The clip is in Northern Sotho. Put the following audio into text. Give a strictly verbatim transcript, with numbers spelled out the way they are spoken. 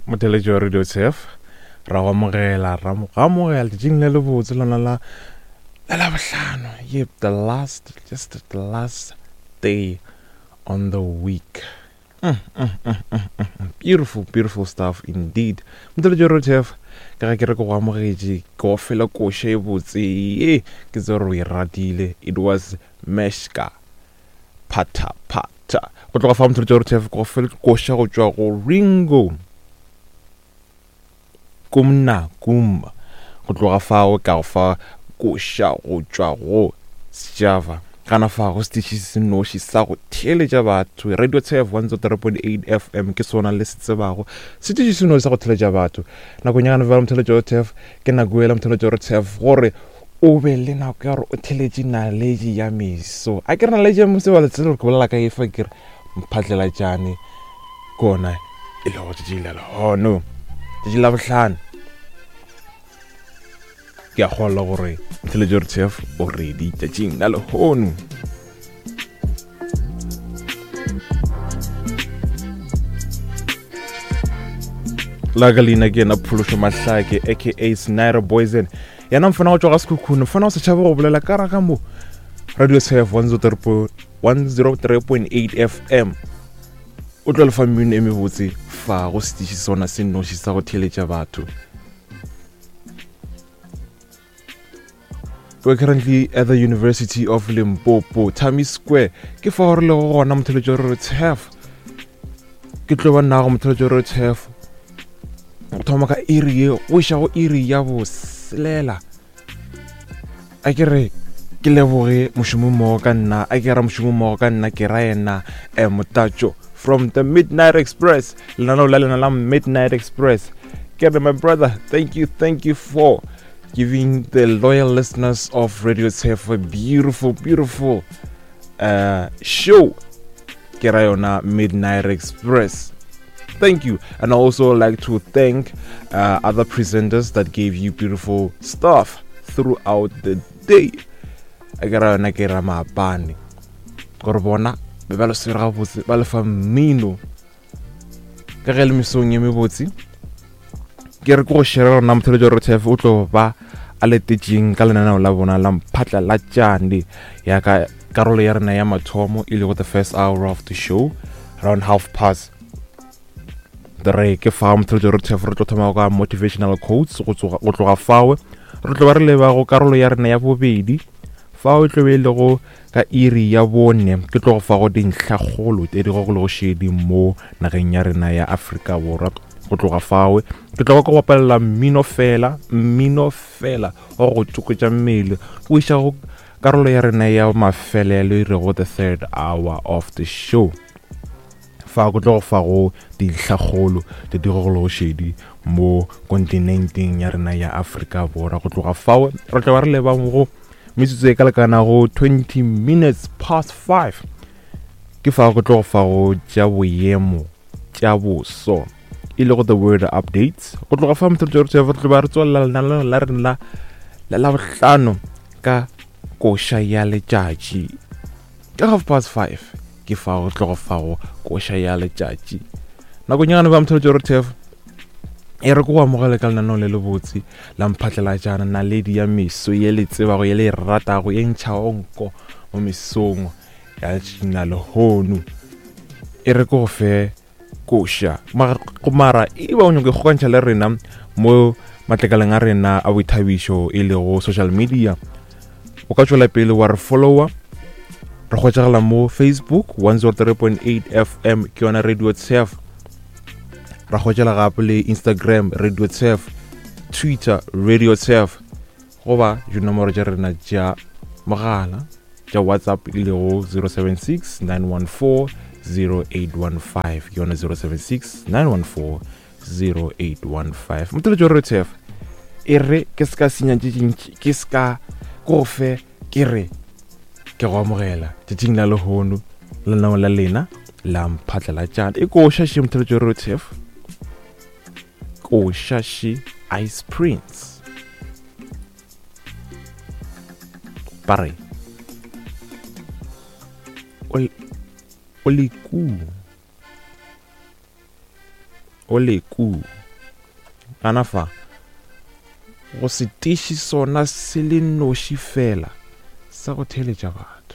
Motheletši wa Radio Turf ra go amogela ra mo amogela letšatšing le lebotse lona la la Labohlano. Yep, the last, just the last day on the week. Mm, mm, mm, mm, mm. Beautiful, beautiful stuff indeed. Motheletši wa Radio Turf, ka ge ke re ke go amogetše, ke go fela koša e botse ye ke tse gore o e ratile. It was Meshka Phata Phata. Go tloga fa motheletši wa Radio Turf, ke go fela koša go tšwa go Ringo Kumna Kumba. Go tloga fao ka go fa koša go tšwa go Sjava. Gana fa go setiši se noši sa go theeletša batho, Radio Turf one oh three point eight F M ke sona le se tsebago, setiši se noši sa go theeletša batho. Nakong ya gana bjale motheletši wa Turf, ke nako ela motheletši wa Turf gore o be le nako ya gore o theeletše naledi ya meso. A ke re naledi ya meso ba le tsebe gore ke bolela ka efa, ke re mphatlelatšane kona e le go tšatši la lehono, tšatši la bohlano. Ke a kgolwa gore motheletši wa Turf o ready tšatšing la lehono. La ka leina ke yena Phološo Mahlake aka Snyder Boysen, yena mfana go tšwa ga Sekhukhune, mfana go setšhaba go bolela ka raga mo Radio Turf one oh three point eight F M. O tlo lefa mmino e mebotse fa go setiši sona se noši sa go theeletša batho. We're currently at the University of Limpopo, Tami Square. Ke fa gore le go gona motheletši wa Radio Turf. Ke tlo ba nna go motheletši wa Radio Turf. Go thoma ka iri ye, go iša go iri ya boselela. A ke re ke leboge mošomo mmogo ka nna, a ke ra mošomo mmogo ka nna, ke ra yena eh, Motatšo from the Midnight Express. Lenaneo la lena la Midnight Express. Ke re my brother, thank you, thank you for giving the loyal listeners of Radio Turf a beautiful, beautiful uh, show. Ke ra yona Midnight Express. Thank you. And I also like to thank uh, other presenters that gave you beautiful stuff throughout the day. Ke ra yona ke ra maabane. Gore bona be ba le swere gabotse, ba le fa mmino. Ka ge le mesong ye mebotse, ke re ke go share rona motheletši wa Radio Turf o tlo ba a letetšeng ka lenaneo la bona la Mphatlalatšane ya ka karolo ya rena ya mathomo e lego the first hour of the show around half past three. Ke fa motheletši wa Radio Turf re tlo thoma ka motivational quotes go tloga fao re tlo ba re leba go karolo ya rena ya bobedi fao e tlo be e lego ka iri ya bone. Ke tlo go fa go dintlhakgolo tse di go go šedi mo nageng ya rena ya Afrika Borwa. Go tloga fao ke tlo go bapalela mmino fela, mmino fela wa go tsokotša mmele go iša go karolo ya rena ya mafelelo e rego the third hour of the show. Fa go tlo go fa go dintlhakgolo tse di go go šedi mo kontinenteng ya rena ya Afrika Borwa. Go tloga fao re tlo ba re leba go metsotso e ka lekanago twenty minutes past five. Ke fa go tlo go fa go tša boemo tša boso e lego the word updates. Go tloga fa motheletši wa Radio Turf re tlo ba re tswelela lenaneo la rena la Labohlano ka koša ya letšatši ka half past five. Ke fa go tlo go fa go koša ya letšatši. Nakong ya gana ba motheletši wa Radio Turf e re ke go amogele ka lenaneo le lebotse la Mphatlalatšana, naledi ya meso ye le tsebago, ye le e ratago, ye ntšhago nko mo mesong ya letšatšing la lehono. E re ke go fe koša mara e ba o nyaka go kgokantšha le rena mo matlakaleng a rena a boithabišo e lego social media, o ka tšwela pele wa re follower. Re hwetšagala mo Facebook one oh three point eight F M ke yona Radio Turf. Ra hwetšela gape le Instagram Radio Turf, Twitter Radio Turf, goba dinomoro tša rena tša mogala tša WhatsApp e lego zero seven six nine one four zero eight one five, ke yona zero seven six nine one four zero eight one five. Motheletši wa Radio Turf, e re ke se ka senya tše dintši, ke se ka go fe, ke re ke go amogela tšatšing la lehono lenaneo la lena la Mphatlalatšane. E koša še motheletši wa Radio Turf, koša še Ice Prince. Ba re o le ku O le ku. Gana fa go setiši sona se le noši fela sa go theeletša batho.